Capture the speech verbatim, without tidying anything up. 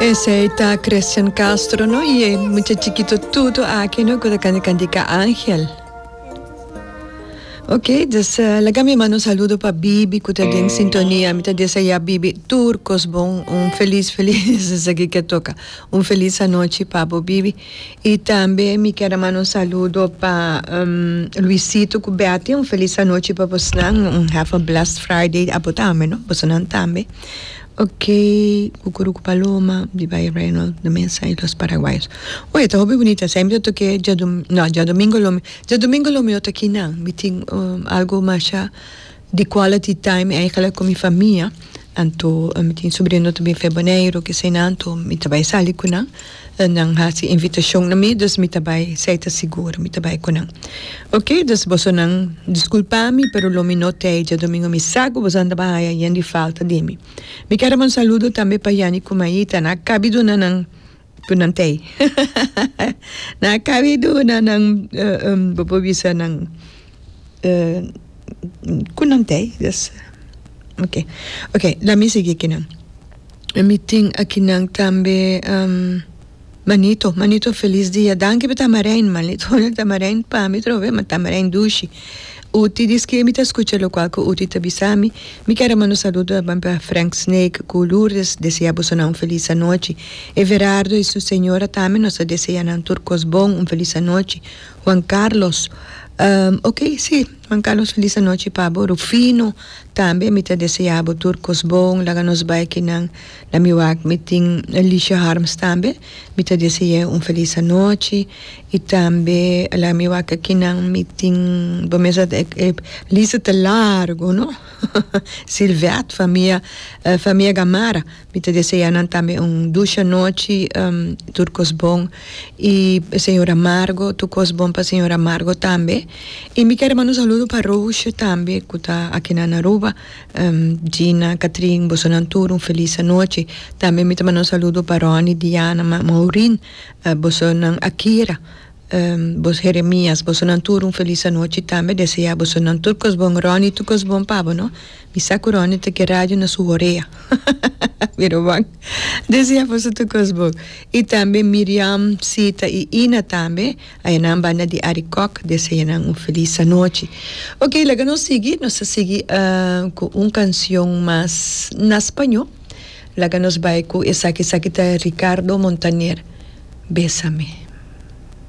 Esey ta Cristian Castro, no? Y e mucha chikito tuto aki, no? Cu ta canta cantica Angel. Ok, dus uh, laga mi manda un saludo pa Bibi, cu ta den sintonia. Mi ta desea Bibi tur cos bon, un feliz, feliz, esaki cu toca. Un feliz anochi pa Bibi. Y tambe mi kier manda un saludo pa um, Luisito cu Betty, un feliz anochi pa boso, un have a blessed Friday, abo tambe, no? Boso tambe. Ok, Cucurucu Paloma, di Bay Reynolds, de Mesa y los Paraguayos. Oye, ta hopi bunita. Semper toque diadom no, diadomingo lo diadomingo lo mi aki no. Mi tin um, algo mas di quality time eigenlijk cu mi famia. Anto, mi tin sobrino tambe for Boneiro, cu esey anto, mi ta bay sali cu nan. Nan hasi invitacion na mi, dus mi ta bay, esey ta sigur, mi ta bay cu nan. Ok, dus bosonan disculpa mi, pero lo mi no tey diadomingo mi sa cu boso ta bay haya di falta di mi. Mi kier un saludo tambe pa Yani cu Maita, nan a caba di duna nan cu nan tey. Nan a caba di duna nan uh, um, bo bisa nan uh, cu nan tey, dus ok. Ok, laga mi sigui aki nan. Mi tin aki nan tambe um, Manito, Manito, feliz dia. Danki pa tamarijn, Manito. Tamarijn pa mi trobe, ma tamarijn dushi. Uti diz que mi ta scucha lo qual que Uti ta bisami. Mi kier manda saludo pa Frank Snake, cu Lourdes, desea boso un feliz anochi. Everardo y su señora tambe nos ta desea nan tur cos bon, un feliz anochi. Juan Carlos, um, ok, si, Juan Carlos, feliz anochi pa bo. Rufino, tambe mi ta desea tur cos bon, laga nos bay aki nan, na mi wak mi tin Alicia Harms tambe, mi ta desea un feliz anochi, y tambe laga mi wak aki nan mi tin, bon mes e lista ta largo, no? Silvet, famia, uh, famia Gamara, mi ta desea nan tambe un dushi anochi, um, tur cos bon, y señora Margo, tur cos bon pa señora Margo tambe, y mi kier manda un saludo pa Roche tambe, cu ta aki na Aruba, um, Gina, Catherine, bosonan tur, un feliz anochi. Tambe mi ta manda un saludo pa Ronnie, Diana, Ma Maureen, uh, bosonan Akira, um, bos Jeremias, bosonan tur, un feliz anochi tambe, desea bosonan tur cos bon, Ronnie, tur cos bon pa bo, no? Mi sa cu Ronnie ta cu radio na su orea. Mira bon. Desea boso tur cos bon. Y tambe Miriam, Sita y Ina tambe, ey na banda di Arikok, desea un feliz anochi. Ok, laga nos sigui, nos sigui uh, cu un cancion mas na spaño. Laga nos bay cu esaki, esaki ta Ricardo Montaner. Bésame.